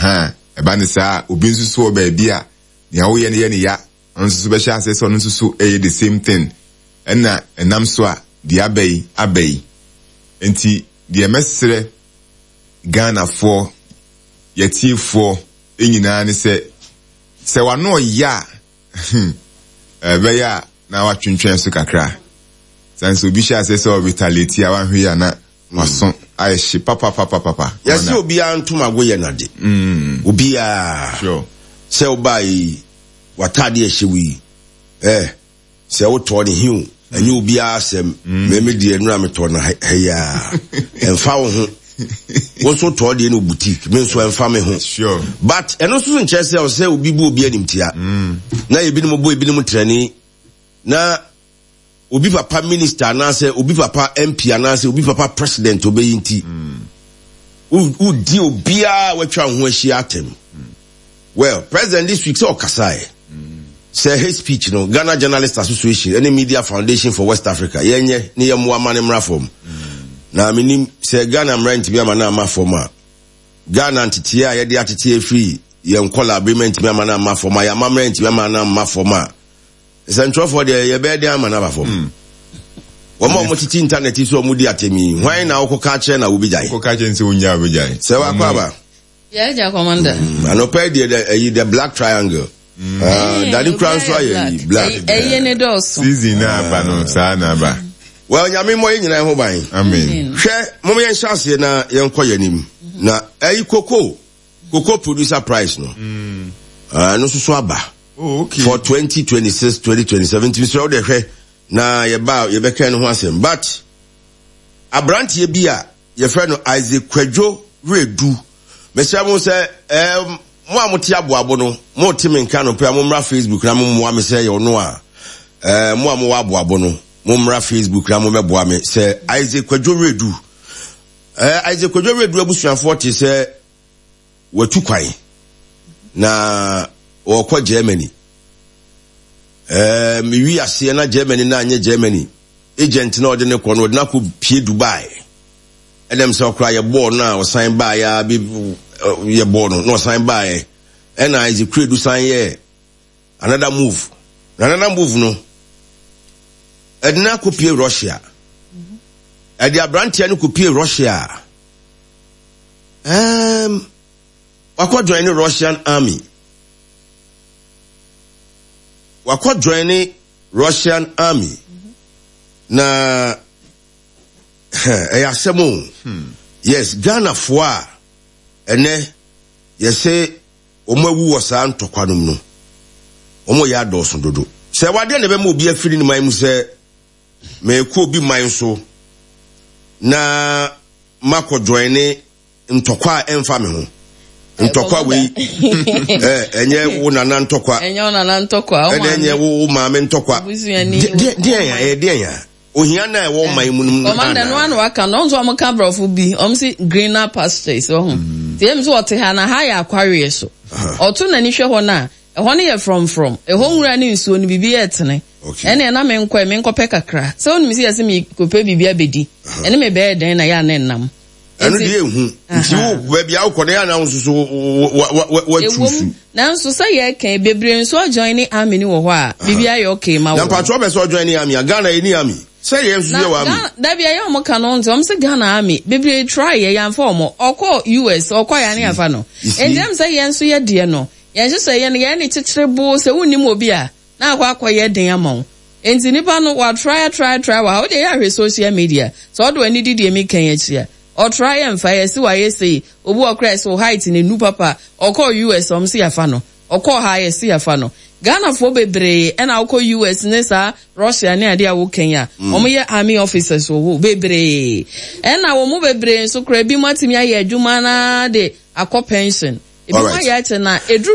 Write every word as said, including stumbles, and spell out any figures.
Aha, ɛba ne saa, obi nso so wɔ baabi a nea woyɛ no yɛ ne ya, ɔno nso so bɛhyɛ aseɛ sɛ ɔno nso so ɛyɛ the same thing. Ɛna ɛnam so a deɛ aba yi aba yi. Nti deɛ mɛsrɛ Ghanafoɔ, yɛtiefoɔ nyinaa ne sɛ, sɛ wano ɔyɛ a, ɛbɛyɛ a na watwentwɛn so kakra. Sane sɛ obi hyɛ aseɛ sɛ ɔretaliate a, wanhwɛ yi a na waso ayɛ hye papapapapa. Yɛsɛ obiara ntomago yɛ nade. Obiara. Sure. Sɛ wobaa yi, w'ataade a ɛhyɛ wo yi, eh, sɛ wotɔɔ ne he o, ɛnyɛ obiara asɛm. Mɛmɛ deɛ nnura metɔɔ no ha yi a, ɛmfa wo ho. Wo nso tɔɔ deɛ no boutique, me nso ɛmfa me ho. Sure. But ɛno nso so nkyerɛ sɛ ɔsɛ obi bu obi animtia. Na ebinom bɔ ebinom trɛni. Na obi papa minister anaasɛ obi papa M P anaasɛ obi papa president obɛyi nti, wodi obiara watwa wo ho ahyia atɛm. Well, President this week sɛ ɔkasaeɛ sɛ hate speech no, Ghana Journalist Association ɛne Media Foundation for West Africa yɛnyɛ ne yɛmmoa ma ne mmra fam. Na menim sɛ Ghana mmara ntumi ama no amma fam a, Ghana nteteɛ a yɛde atete afiri yɛn nkɔla abirima ntumi ama no amma fam a, yɛn amammerɛ ntumi ama no amma fam a, nsɛntwerɛfoɔ deɛ, yɛbɛyɛ den ama no aba fam? Wɔn a wɔtete internet yi so a wɔdi atɛm yi, hwan na wokɔka kyerɛ na wobɛgyae? Kɔka kyerɛ sɛ wonya wobɛgyae. Sɛ wakɔ aba. Yɛagya, Commander. Anɔpa yi deɛ, dɛ- ɛyi, the black triangle. Ah, dade kura nso ayɛ yi black. Ɛyɛ ne dɔɔso. Season na aba no, saa na aba. Well, Nyame mmɔ yɛn nyinaa ho ban. Amen. Hwɛ, mom yɛnhyɛ aseɛ na yɛnkɔ yɛn anim. Na ɛyi, cocoa cocoa producer price no, ah, ɛno nso so aba Oh, okay. for twenty twenty-six twenty twenty-seven. Nti mesrɛ wo de hwɛ na yɛba a, yɛbɛka no ho asɛm. But aberanteɛ bi a yɛfrɛ no Isaac Kwadwo Redu, mesrɛ mo sɛ ɛɛm, mo a mote aboabo no, mote me nka no pɛ a, mommra Facebook na mommoa me sɛ yɛ ɔno a ɛɛ, mo a mowɔ aboabo no, mommra Facebook na mommɛboa me sɛ Isaac Kwadwo Redu, ɛɛ, Isaac Kwadwo Redu abusuafoɔ te sɛ watu kwan na wɔkɔ Germany. ɛɛ mewi aseɛ na Germany na anyɛ Germany agent na ɔde ne kɔ no, ɔde no akɔ pie Dubai. Ɛnam sɛ ɔkora yɛ bɔɔl no a ɔsan baeɛ a bi yɛ bɔɔl no na ɔsan baeɛ, ɛna Isaac Kredu san yɛ another move, na another move no ɛde no akɔ pie Russia. Ɛde aberanteɛ no kɔ pie Russia, ɛɛm wakɔ join ne Russian army, wakɔ join ne Russian army. Na ɛyɛ asɛm o. Yes, Ghanafoɔ a ɛnɛ yɛsɛ wɔn awu wɔ saa ntɔkwa no mu no, wɔn yɛ adɔɔso dodo. Sɛ wadeɛ na ɛbɛma obi afiri ne man mu sɛ mɛkɔ obi man so na makɔ join ne ntɔkwa a ɛmfa me ho, ntɔkwa wei ɛ, ɛnyɛ wo nana ntɔkwa. Ɛnyɛ wo nana ntɔkwa. Ɛna ɛnyɛ wo wo maame ntɔkwa. Busuani. Deɛ deɛ ya ɛyɛ deɛ ya ohia na ɛwɔ ɔman mu no mu. Commander, no ano aka no ɔnso ɔmo ka borɔfo bi, ɔmo si greener pastures ɔho nti ɛmu sɛ ɔte ha na ha yɛ akwareɛ so, ɔto n'ani hwɛ hɔ no a, ɛhɔ no yɛ frɔmfrɔm, ɛhɔ nwura ne nsuo no biribi yɛ tene. Okay. Ɛne ɛna me nkɔ me nkɔpɛ kakra sɛ wonim sɛ yɛsɛ mekɔpɛ biribi abɛdi, ɛne me bɛyɛ dɛn na yɛ a ne nnam. Ɛno Nti- deɛ ehu nti wo baabi a wokɔ no yɛ anan nso so watu Ɛwom su. Nanso sɛ yɛka bebree nso ɔjoin ne army ni wɔ hɔ a, biribi ayɛ okay ma Na wɔ. mpatwɔ bɛ sɛ ɔjoin ne army a, Ghana yɛ ni army sɛ yɛn nso Na yɛ wɔ army. Ghana dabi, ɛyɛ ɔmo ka no nti ɔmo sɛ Ghana army bebree try yɛ, yɛnfa ɔmo ɔkɔ U S, ɔkɔ yɛn ne yɛnfa no. You see? Nti ɛmu sɛ yɛn nso yɛ deɛ no, yɛn hyehyɛ yɛn no, yɛn ne kyekyere bo sɛ wunnim obi a na akɔ akɔyɛ den ama wo. Nti nipa no wa try try try wɔ ha, o deɛ yɛ ahwɛ social media sɛ ɔde w'ani di deɛ mi kan akyi a, ɔtry yɛ nfa yɛ si wayɛ sei, obi wɔ kora sɛ o height ne nu papa, ɔkɔ U S, ɔmo si yafa no, ɔkɔ ha yɛ si yafa no. Ghanafoɔ bebree ɛna ɔkɔ U S ne saa Russia ne adeɛ a wɔkɛn a wɔn yɛ army officers wɔ hɔ bebree, ɛna wɔn mu bebree nso kora ebi mu atumi ayɛ adwuma naa de akɔ pension, ebi mu Alright. ayɛ akyɛ na eduru.